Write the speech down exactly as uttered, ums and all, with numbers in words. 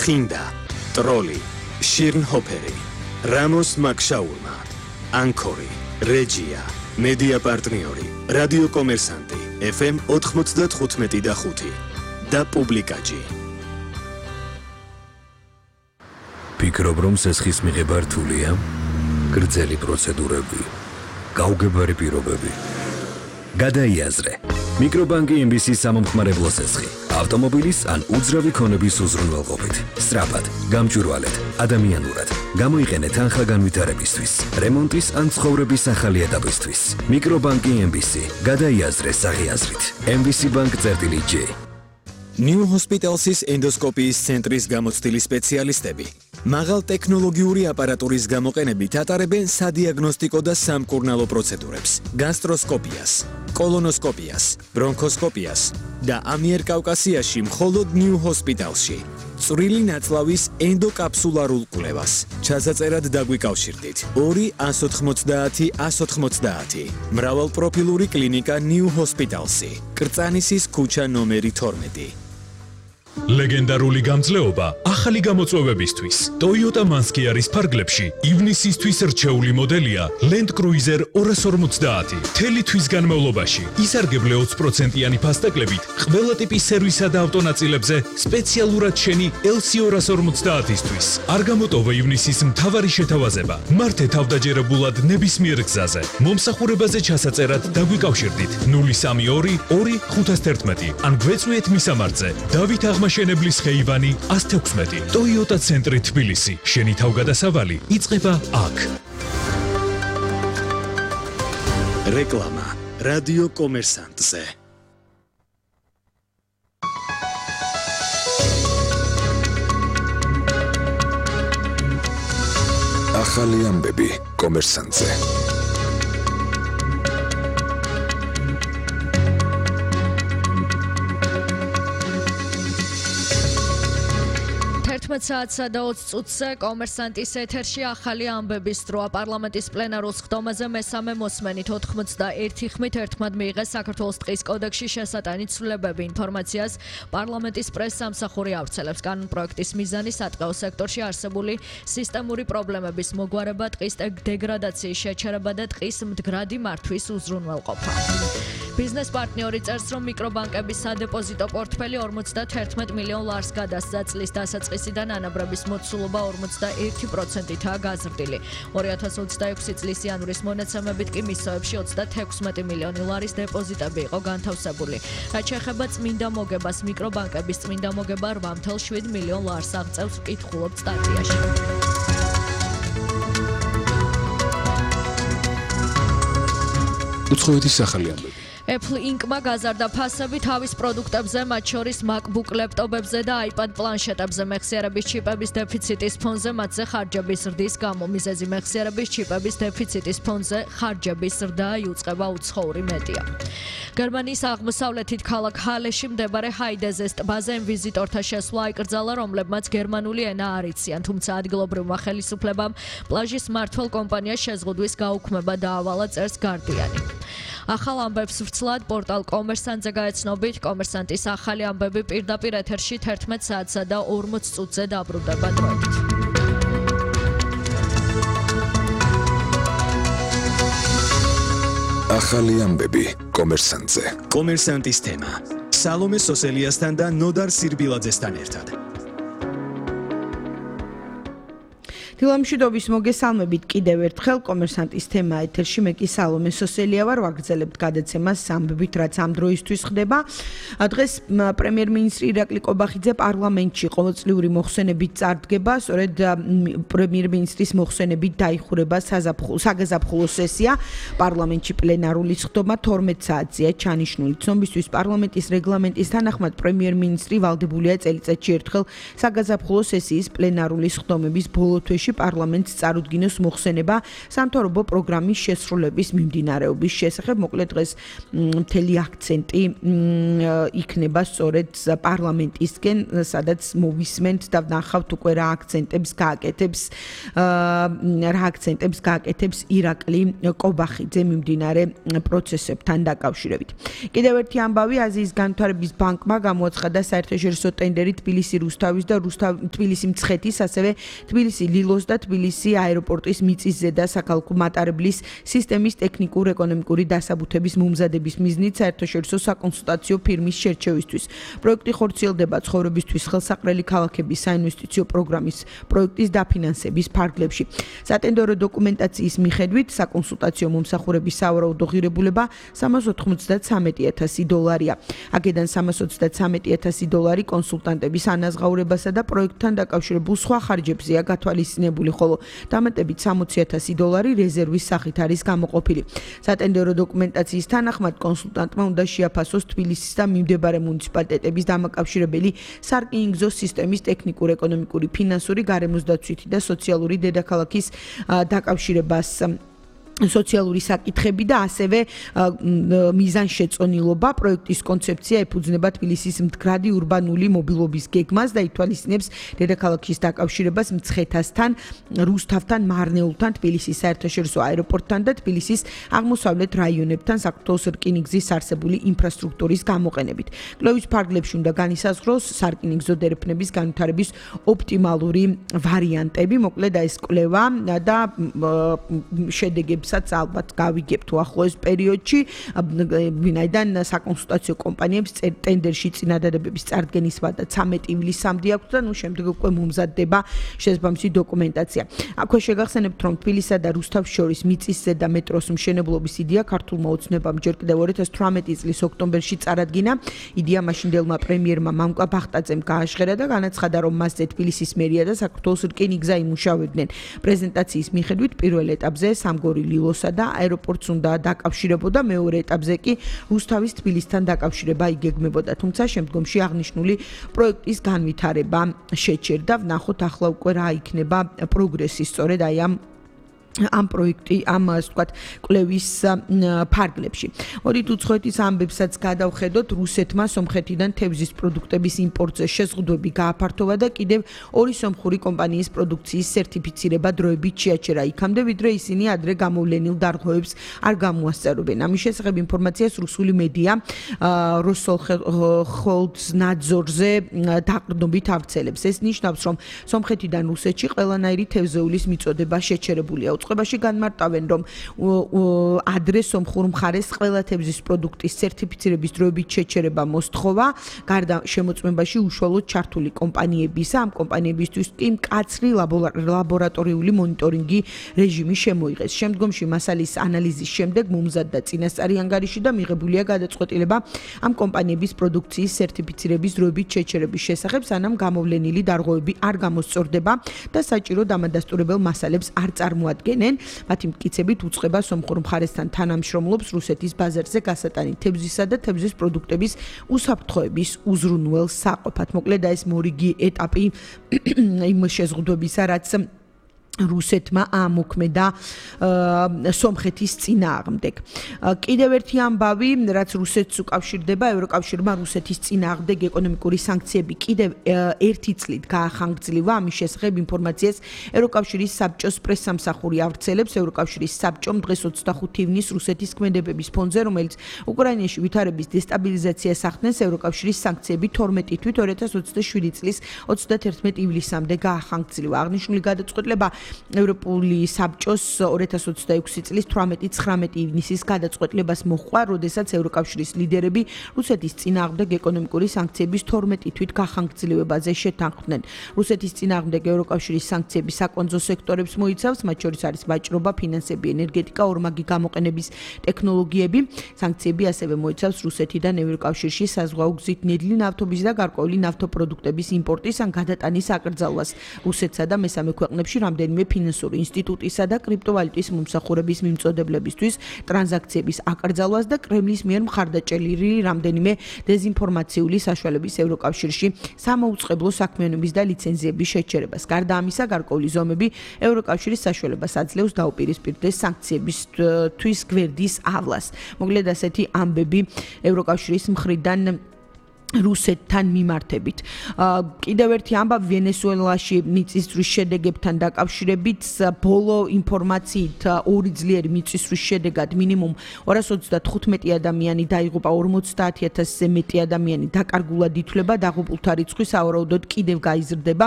თხინდა, ტროლი, შირნჰოფერი, რამოს მაკშაურმა, ანქორი, რეჯია, მედია პარტნიორი, რადიო კომერსანტი, ეფ ემ ოთხმოცდათხუთმეტი და ხუთი და პუბლიკაჯი. ფიქრობ, რომ სესხის მიღება რთულია? გრძელი პროცედურები, გაუგებარი პირობები. გადაიაზრე. მიკრობანკი ემ ბი სი სამომხმარებლო სესხი. ავტომობილის ან უძრავი ქონების უზრუნველყოფით. სწრაფად, გამჭვირვალედ, ადამიანურად. გამოიყენე თანხა განვითარებისთვის, რემონტის ან ცხოვრების ახალი ეტაპისთვის. მიკრობანკი ემ ბი სი. გადაიაზრე საღიაზრით. ემ ბი სი ბანკ წერტილი ჯი. New Hospitals's ენდოსკოპიის ცენტრის გამოცდილი სპეციალისტები მაღალ ტექნოლოგიური აპარატურის გამოყენებით ატარებენ სადიაგნოსტიკო და სამკურნალო პროცედურებს, გასტროსკოპიას, კოლონოსკოპიას, ბრონქოსკოპიას და ამიერკავკასიაში მხოლოდ New Hospitalsში. წვრილი ნაწლავის ენდოკაფსულარულ კვლევას. ჩასაწერად დაგვიკავშირდით ორი ათს ოთხმოცდაათი ათს ოთხმოცდაათი. მრავალპროფილური კლინიკა New Hospitalsი. კრწანისის ქუჩა ნომერი თორმეტი. ლეგენდარული გამძლეობა ახალი გამოწვევებისთვის. Toyota Manskiaris ფარგლებში ივნისისთვის რჩეული მოდელია Land Cruiser ორას ორმოცდაათი. მთელი თვის განმავლობაში ისარგებლე ოცი პროცენტიანი ფასტაკლებით ყველა ტიპის სერვისსა და ავტონაწილებზე სპეციალურად შენი ელ სი ორას ორმოცდაათისთვის. არ გამოტოვე ივნისის მთავარი შეთავაზება. მართე თავდაჯერებულად ნებისმიერ გზაზე. მომსახურებაზე ჩასაწერად დაგვიკავშირდით ნული სამი ორი ორი ხუთას თერთმეტი ან გვეწვიეთ მისამართზე დავით აღმაშენებლის ხეივანი ათს თექვსმეტი. Toyota ცენტრი თბილისი. შენი თავგადასავალი იწყება აქ. რეკლამა რადიო კომერსანტზე. ახალი ამბები კომერსანტზე. თერთმეტ საათსა და ოცი წუთზე კომერსანტის ეთერში ახალი ამბების დროა. პარლამენტის პლენარულ სხდომაზე მესამე მოსმენით ოთხმოცდაერთი ხმით ერთმად მიიღეს საქართველოს ტყის კოდექსში შესატანი ცვლილებები. ინფორმაციას პარლამენტის პრეს-სამსახური ავრცელებს. კანონპროექტის მიზანი სატყეო სექტორში არსებული სისტემური პრობლემების მოგვარება, ტყის დეგრადაციის შეჩერება და ტყის მდგრადი მართვის უზრუნველყოფა. ბიზნეს პარტნიორი წერს, რომ მიკრობანკების სადეპოზიტო პორტფელი ორმოცდათერთმეტ მილიონ ლარს გადასცა. წლის დასაწყისიდან ანაბრების მოცულობა ორმოცდაერთი პროცენტითაა გაზრდილი. ორი ათას ოცდაექვსი წლის იანვრის მონაცემებით კი მისოებში ოცდათექვსმეტი მილიონი ლარის დეპოზიტები იყო განთავსებული. რაც შეეხება წმინდა მოგებას, მიკრობანკების წმინდა მოგება რვა ათას შვიდ მილიონ ლარს აღწევს, ვკითხულობთ სტატიაში. უცხოეთის ახალი ამბები. Apple Inc-მა გაზარდა ფასები თავის პროდუქტებზე, მათ შორის MacBook ლეპტოპებზე და iPad პლანშეტებზე. მეხსიერების ჩიპების დეფიციტის ფონზე მათზე ხარჯების ზრდის გამო. მიზეზი მეხსიერების ჩიპების დეფიციტის ფონზე ხარჯების ზრდა იუწყება უცხოური მედია. გერმანიის აღმოსავლეთით ქალაქ ჰალეში მდებარე ჰაიდეზეს ტბაზე ვიზიტორთა შესვლა აიკრძალა, რომლებმაც გერმანული ენა არ იციან, თუმცა ადგილობრივმა ხელისუფლებამ პლაჟის მმართველ კომპანიას შეზღუდვის გაუქმება დაავალა, წერს Guardian-ი. ახალ ამბებს ვრცლად პორტალ კომერსანტზე გაეცნობით. კომერსანტის ახალი ამბები პირდაპირ ეთერში თერთმეტ საათსა და ორმოც წუთზე დაბრუნდება დროებით. ახალი ამბები კომერსანტზე. კომერსანტის თემა სალომე სოსელიასთან და ნოდარ სირბილაძესთან ერთად. დილამშვიდობის მოგესალმებით კიდევ ერთხელ კომერსანტის თემა ეთერში. მე კი სალომე სოსელია ვარ. ვაგრძელებთ გადაცემას ამბებით, რაც ამ დროისთვის ხდება. დღეს პრემიერ-მინისტრი ირაკლი კობახიძე პარლამენტში ყოველწლიური მოხსენებით წარდგება. სწორედ პრემიერ-მინისტრის მოხსენებით დაიხურება საგაზაფხულო სესია. პარლამენტში პლენარული სხდომა თორმეტ საათზეა ჩანიშნული. ცნობისთვის პარლამენტის რეგლამენტის თანახმად პრემიერ-მინისტრი ვალდებულია წელიწადში ერთხელ საგაზაფხულო სესიის პლენარული სხდომების ბოლო თვეში პარლამენტს წარუდგინოს მოხსენება სამთავრობო პროგრამის შესრულების მიმდინარეობის შესახებ. მოკლედ დღეს მთელი აქცენტი იქნება სწორედ პარლამენტისკენ, სადაც მოვისმენთ და ვნახავთ უკვე რა აქცენტებს გააკეთებს რა აქცენტებს გააკეთებს ირაკლი კობახიძე მიმდინარე პროცესებთან დაკავშირებით. კიდევ ერთი ამბავი, აზიის განვითარების ბანკმა გამოაცხადა საერთაშორისო ტენდერი თბილისი რუსთავის და თბილისი მცხეთის, ასევე თბილისი ლილოს და თბილისი აეროპორტის მიწისზედა საქალაქო მატარებლის სისტემის ტექნიკურ-ეკონომიკური დასაბუთების მომზადების მიზნით საერთაშორისო საკონსულტაციო ფირმის შერჩევისთვის. პროექტი ხორციელდება ცხოვრებისთვის ხელსაყრელი ქალაქების საინვესტიციო პროგრამის პროექტის დაფინანსების ფარგლებში. სატენდერო დოკუმენტაციის მიხედვით საკონსულტაციო მომსახურების სავარაუდო ღირებულება სამას ოთხმოცდათსამეტი ათასი დოლარია. აქედან სამას ოცდათსამეტი ათასი დოლარი კონსულტანტების ანაზღაურებასა და პროექტთან დაკავშირებულ სხვა ხარჯებზეა გათვალისწინებული, ხოლო დამატებით სამოცი ათასი დოლარი რეზერვის სახით არის გამოყოფილი. სატენდერო დოკუმენტაციის თანახმად კონსულტანტმა უნდა შეაფასოს თბილისის და მიმდებარე მუნიციპალიტეტების დამაკავშირებელი სარკინიგზო სისტემის ტექნიკურ-ეკონომიკური, ფინანსური, გარემოსდაცვითი და სოციალური დედაქალაქის დაკავშირებას სოციალური საკითხები და ასევე მიზანშეწონილობა. პროექტის კონცეფცია ეფუძნება თბილისის მდგრადი ურბანული მობილობის გეგმას და ითვალისწინებს დედაქალაქის დაკავშირებას მცხეთასთან, რუსთავთან, მარნეულთან, თბილისის საერთაშორისო აეროპორტთან და თბილისის აღმოსავლეთ რაიონებთან საქართველოს რკინიგზის არსებული ინფრასტრუქტურის გამოყენებით. კვლევის ფარგლებში უნდა განისაზღვროს სარკინიგზო დერეფნების განვითარების ოპტიმალური ვარიანტები. მოკლედ ეს კვლევა და შედეგები საც ალბათ გავიგებთ უახლოეს პერიოდში, ვინაიდან საკონსულტაციო კომპანიებს ტენდერში წინადადებების წარდგენის ვადა ცამეტი ივლისამდე აქვს და ნუ შემდეგ უკვე მომზადდება შესაბამისი დოკუმენტაცია. აქვე შეგახსენებთ, რომ თბილისსა და რუსთავს შორის მიწისზედა მეტროს მშენებლობის იდეა ქართულმა ოცნებამ ჯერ კიდევ ორი ათას თვრამეტი წლის ოქტომბერში წარადგინა. იდეა მაშინდელმა პრემიერმა მამუკა ბახტაძემ გააჟღერა და განაცხადა, რომ მასზე თბილისის მერია და საქართველოს რკინიგზა იმუშავებდნენ. პრეზენტაციის მიხედვით პირველ ეტაპზე სამგორი ლილოსა და აეროპორტს უნდა დაკავშირებოდა, მეორე ეტაპზე კი რუსთავის თბილისთან დაკავშირება იგეგმებოდა, თუმცა შემდგომში აღნიშნული პროექტის განვითარება შეჩერდა. ვნახოთ ახლა უკვე რა იქნება პროგრესი სწორედ აი ამ ამ პროექტი, ამ ასე ვთქვათ, კვლევის ფარგლებში. მოდით უცხოეთის ამბებსაც გადავხედოთ. რუსეთმა სომხეთიდან თევზის პროდუქტების იმპორტზე შეზღუდვები გააფართოვა და კიდევ ორი სომხური კომპანიის პროდუქციის სერტიფიცირება დროებით შეაჩერა იქამდე, ვიდრე ისინი ადრე გამოვლენილ დარღვევებს არ გამოასწორებენ. ამის შესახებ ინფორმაციას რუსული მედია როსსოლხოლცნაძორზე დაყრდნობით ავრცელებს. ეს ნიშნავს, რომ სომხეთიდან რუსეთში ყველანაირი თევზეულის მიწოდება შეჩერებულია. წყებაში განმარტავენ, რომ ადრე სომხურ მხარეს ყველა თევზის პროდუქტის სერტიფიცირების დროებით შეჩერება მოსთხოვა, გარდა შემოწმებაში უშუალოდ ჩართული კომპანიებისა, ამ კომპანიებისთვის კი მკაცრი ლაბორატორიული მონიტორინგი რეჟიმი შემოიღეს. შემდგომში მასალის ანალიზის შემდეგ მომზადდა წინასწარი ანგარიში და მიღებულია გადაწყვეტილება ამ კომპანიების პროდუქციის სერტიფიცირების დროებით შეჩერების შესახებ, სანამ გამოვლენილი დარღვევები არ გამოსწორდება და საჭირო დამადასტურებელ მასალებს არ წარმოადგენს. მათი მტკიცებით უწყება სომხურ მხარესთან თანამშრომლობს რუსეთის ბაზარზე გასატანი თევზისა და თევზის პროდუქტების უსაფრთხოების უზრუნველ საყოფად. მოკლედ ეს მორიგი ეტაპი იმ შეზღუდვებისა, რაც რუსეთმა ამოქმედა სომხეთის წინააღმდეგ. კიდევ ერთი ამბავი, რაც რუსეთს უკავშირდება, ევროკავშირმა რუსეთის წინააღმდეგ ეკონომიკური სანქციები კიდევ ერთი წლით გაახანგრძლივა. ამის შესახებ ინფორმაციას ევროკავშირის საბჭოს პრესსამსახური ავრცელებს. ევროკავშირის საბჭომ დღეს ოცდახუთი ივნისს რუსეთის ქმედებების ფონზე, რომელიც უკრაინაში ვითარების დესტაბილიზაციას ახდენს, ევროკავშირის სანქციები თორმეტი თვით ორი ათას ოცდაშვიდი წლის ოცდათერთმეტი ივლისამდე გაახანგრძლივა. აღნიშნული გადაწყვეტილება ევროპული საბჭოს ორი ათას ოცდაექვსი წლის თვრამეტი ცხრამეტი ივნისის გადაწყვეტილებას მოჰყვა, როდესაც ევროკავშირის ლიდერები რუსეთის წინააღმდეგ ეკონომიკური სანქციების თორმეტი თვით გახანგრძლივებაზე შეთანხმდნენ. რუსეთის წინააღმდეგ ევროკავშირის სანქციები საკონძო სექტორებს მოიცავს, მათ შორის არის ვაჭრობა, ფინანსები, ენერგეტიკა, ორმაგი გამოყენების ტექნოლოგიები. სანქციები ასევე მოიცავს რუსეთიდან ევროკავშირში საზღვაო გზით ნედლი ნავთობის და გარკვეული ნავთობპროდუქტების იმპორტის ან გადატანის აკრძალვას. რუსეთსა და მესამე ქვეყნებში რამდენი რამდენიმე ფინანსური ინსტიტუტისა და კრიპტოვალუტის მომსახურების მიმწოდებლებისთვის ტრანზაქციების აკრძალვას და კრემლის მიერ მხარდაჭერილი რამდენიმე დეზინფორმაციული საშუალების ევროკავშირში სამაუწყებლო საქმიანობის და ლიცენზიების შეჩერებას. გარდა ამისა, გარკვეული ზომები ევროკავშირის საშუალებას აძლევს დაუპირისპირდეს სანქციებისთვის გვერდის ავლას. მოკლედ ასეთი ამბები ევროკავშირის მხრიდან რუსეთთან მიმართებით. კიდევ ერთი ამბავი ვენესუელაში მიწისძვრის შედეგებთან დაკავშირებით, ბოლო ინფორმაციით ორი ძლიერი მიწისძვრის შედეგად მინიმუმ ორას ოცდათხუთმეტი ადამიანი დაიღუპა, ორმოცდაათი ათასზე მეტი ადამიანი დაკარგულად ითვლება, დაღუპულთა რიცხვი სავარაუდოდ კიდევ გაიზრდება.